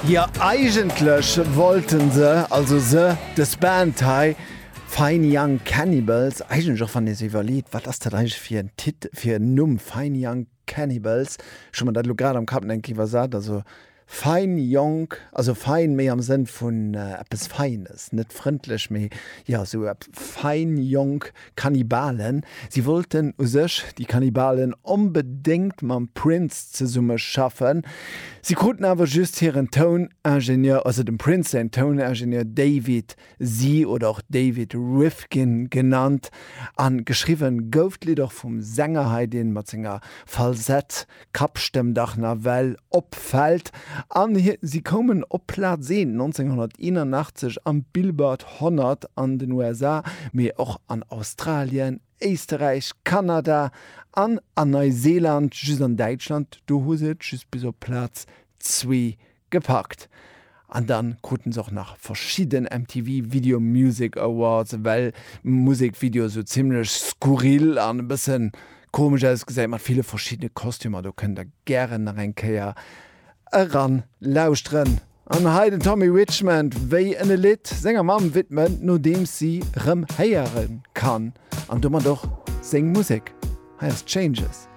Jo, eigentlech wollten se, also se, dës Band hei, Fine Young Cannibals, eigentlech och wann ee sech iwwerleet, wat ass dat eigentlech fir en Tit-, fir en Numm, Fine Young Cannibals, ech hu mer dat elo grad am Kapp eng Kéier iwwersat, also Fein jonk, also fein méi am Sënn vun eppes Feines, net frëndlech, mee jo esou eppes fein jonk Kannibalen. Si wollten u sech, déi Kannibalen, onbedéngt mam Prince zesumme schaffen. Si kruten awer just hiren Touningenieur, also dem Prince säin Touningenieur David Z oder och David Rivkin genannt. An geschriwwen gouf d'Lidd och vum Sänger hei, deen mat senger Falsett Kappstëmm dach nawell opfält. An si koumen op Plaz 1 1981 am Billboard 100 an den USA, mee och an Australien, Éisterräich, Kanada an an Neuseeland. Just an Däitschland, do hu se et just bis op Plaz 2 Gepackt. An dann kruten se och nach verschidden MTV Video Music Awards, well Musekvideo sou zimlech skurril an e bëssen komesch ausgesäit mat ville verschiddene Kostümer. Do kënnt der gären nach eng Kéier eran lauschteren. An hei den Tommy Richmond, wéi en e Lidd senger Mamm widment, nodeems si rëm héiere kann an domat och seng Musek. Hei ass Changes.